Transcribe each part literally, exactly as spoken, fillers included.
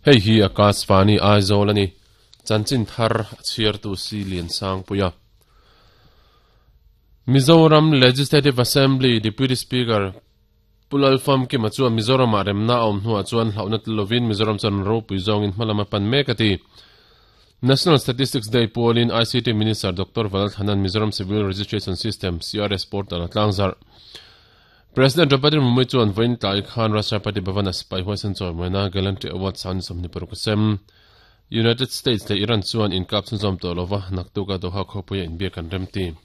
Hei hi Akashvani Aizawl ani. Chanchin thar chhiar tu si lian sang puia. Mizoram Legislative Assembly Deputy Speaker Pulal Fam ki machua Mizoram a remna awm hnuah chuan hlauhna tlovin Mizoram chuan ropui zawngin hmalama pan mek ati. National Statistics Day pualin I C T Minister Doctor Vanlalthanan Mizoram Civil Registration System C R S portal a tlangzar. President Draupadi Murmu chuan vawiin tlai khan Rashtrapati Bhavan a sipai huaisan chawimawina Gallantry Award san sawmhnih paruk a sem. United States le Iran chuan inkap chhunzawm tawh lova naktuka Doha khawpuia inbiak an remti.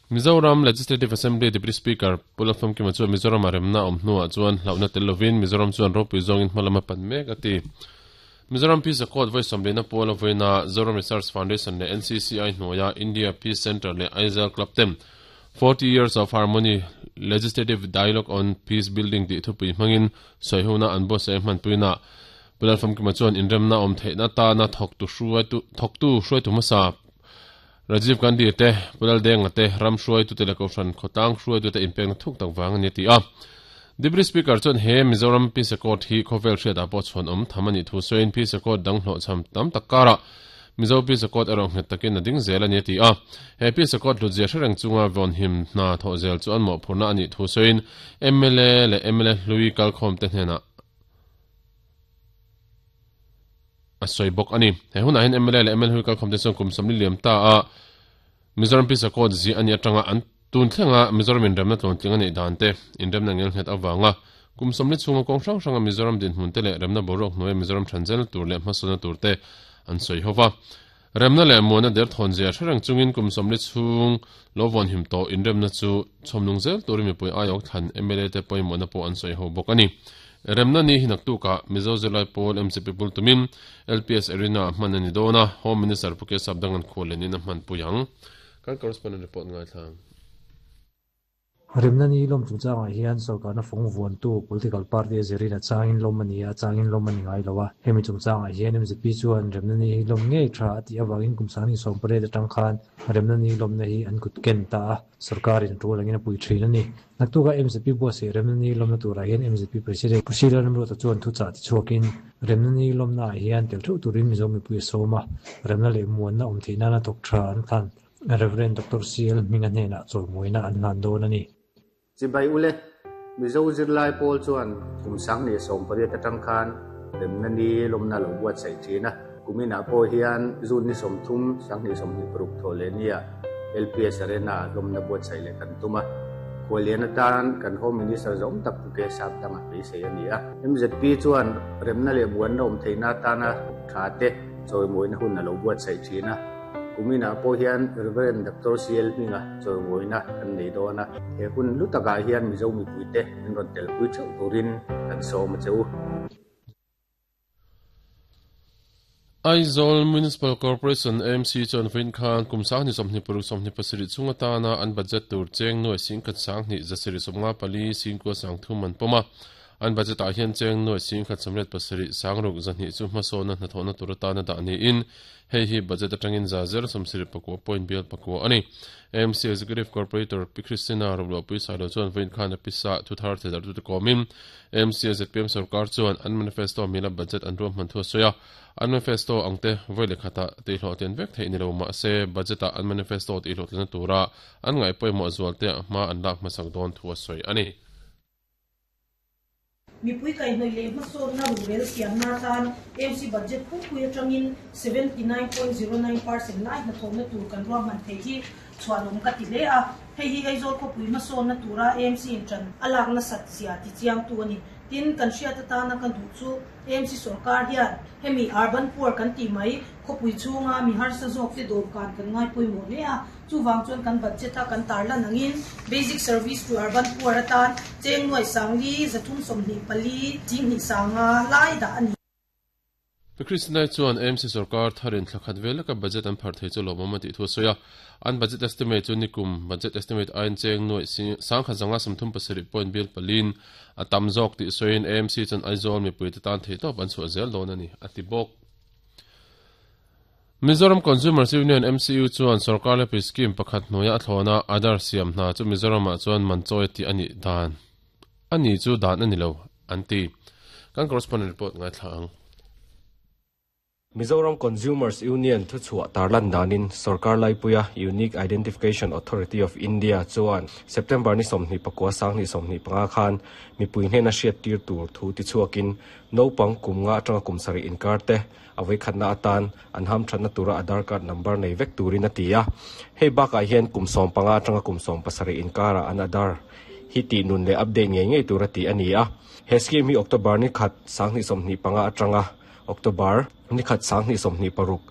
Mizoram Legislative Assembly Deputy Speaker Pulal Famkima chuan Mizoram a remna awm hnuah chuan hlauhna tel lovin Mizoram chuan ropui zawngin hmalama pan mek ati. Mizoram Peace Accord voi sawmlina puala voina Zoram Research Foundation le N C C I hnuaia India Peace Center le Aizawl Club tem forty years of Harmony Legislative Dialogue on Peace Building ti thupui hmangin soihuna an bo se hmanpuina Pulal Famkima chuan inremna awm theihna ta na thawk tu hruai tu thawk tu hruai tu hmasa Rajiv Gandhi te Pulal Denga te ram hruai tu te le kohhran khawtlang hruai tu te inpekna thuk tak vang ani ti a. Deputy Speaker chuan he Mizoram Peace Accord hi khawvel hriat ah pawh chhuan awm tham ani thu sawiin Peace Accord dang hlawh cham tam tak karah Mizo Peace Accord erawh nghet takin a ding zel ani ti a. He Peace Accord hlutzia hrereng chunga vawn him hna thawh zel chu an mawhphurna ani thu sawiin M L A le M L A hlui kalkhawm te hnenah a sawi bawk ani. He hunah hian M L A le M L A hlui kalkhawm te chuan kum sawmli liam ta a Mizoram Peace Accord zi ani atanga an tun thlenga Mizoram inremna tluantling ani dan te inremna ngel nghet awanga kum sawmli chhunga kawng hrang hranga Mizoram dinhmun te leh remna boruak hnuaia Mizoram thanzel tur leh hmasawna tur te an sawi hova. Remna leh muana der thawn zia hrereng chungin kum sawmli chhung lo vawn him tawh inremna chu chhawmnung zel turin mipui aiawk thlan M L A te pawimawhna pawh an sawi ho bawk ani. Remna ni hi naktuka Mizo Zirlai Pawl M C P pul tumin L P S Arena hman ani dawna Home Minister Puke Sapdangan khualenin a hman pui ang. Kan correspondent report ngai thlang. Remna ni lom chungchangah hian sarkarna fawng vuantu political party a zirin a changin lawm ani a changin lawm ani ngai lo a. Hemi chungchangah hian M Z P chuan remna ni lawm ngei tha a tih awangin kum sangni sawm pariat atang khan remna ni lawmna hi an kut ken ta a sarkarin tul angin a pui thin ani. Naktuka M Z P buatsaih remna ni lawmna turah hian M Z P president Pu Lalramruata chuan thu chah ti chhuakin remna ni lawmna ah hian tel theuh turin Mizo mipui a sawm a remna leh muanna awm theih nana thawk tha an thlan Reverend Doctor C L Hminga hnenah chawimawina an hlan dawn ani. Chibai ule Mizo Zirlai Pawl chuan kum sangni sawm pariat atang khan remna ni lawmna lo buatsaih thin a. Kumina pawh hian zun ni sawmthum sangni sawmhnih paruk thaw leh nia L P S Arena lawmna buatsaih leh kan tum a. Khualian atan kan Home Minister zawm tak Puke Sapdanga beisei ani a. M Z P chuan remna leh buanna awm theihna atana tha te chawimawina hun a lo buatsaih thin a. Kumina pawh hian Reverend Doctor C L Hminga chawimawina kan nei dawn a. He hun lutakah hian Mizo mipui te min rawn tel pui theuh turin kan sawm a cheu. Aizawl Municipal Corporation M C chuan vawiin khan kum sangni sawmhnih paruk sawmhnih pasarih chunga tana an budget tur cheng nuai singkhat sangni zasarih sawmnga pali singkua sangthum an pawm a. An budget ah hian cheng nuai singkhat sawmriat pasarih sangruk zahnih chu hmasawna hnathawhna tur atana dah niin hei hi budget atangin za zer sawmsarih pakua point bial pakua ani. M C Executive Corporator Pi Christina Roblo Pui Sailo chuan vawiin khan a pisa thu thar thedar tu te kawmin M C Z P M sarkar chuan an manifesto mila budget an ruam hman thu a sawi a. An manifesto angte vawi leh khata tihhlawh ten vek theih ni lo mah se budget ah an manifesto tihhlawh tlena tura an ngai pawimawh zual te hma an lak hmasak dawn thu a sawi ani. Mipui kai hnawih leh hmasawnna rurel siamna tan M C budget pupui atangin seventy nine point zero nine percent lai hnathawhna tur kan ruahman thei hi chhuanawm ka ti hle a. Hei hi Aizawl khawpui hmasawnna tura M C in tan a lakna sat zia ti chiang tu ani. Tin kan hriat atana kan duh chu M C sarkar hian hemi urban poor kan ti mai khawpui chhunga mi harsa zawk te dawr kan kan ngai pawimawh hle a. Chuwang chuan kan budget a kan tarlan angin basic service to urban poor atan cheng nuai sangli zathum sawmhnih pali chinghnih sanga lai dah ani. Christina chuan M C sarkar tharin thlakhat velaka budget an phar thei chu lawmawm a tih thu a sawi a. An budget estimate chu nikum budget estimate ain cheng nuai sangkhat zanga sawmthum pasarih point bial palin a tam zawk tih sawiin M C chuan Aizawl mipui te tan thei tawp an chhuah zel dawn ani a ti bawk. Mizoram Consumers Union M C U chuan sarkar le scheme pakhat hnuaia a thlawna Aadhaar siam hna chu Mizoramah chuan man chawi ti ani dan ani chu dan ani lo an ti. Kan correspondent report ngai thla ang. Mizoram Consumers Union thuchhuah tarlan danin Sarkar Laipuia Unique Identification Authority of India chuan September ni sawmhnih pakua sanghnih sawmhnih panga khan mipui hnena hriat tir tur thu ti chhuakin naupang kum nga atanga kum sarih inkar te awei khatna atan an ham thatna tura Aadhaar card number nei vek turin a ti a. Hei bakah hian kum sawm panga atanga kum sawm pasarih inkara an Aadhaar hi ti nun leh update ngei ngei tur a ti ani a. He scheme hi October ni khat sanghnih sawmhnih panga atanga October ni khat sanghnih sawmhnih paruk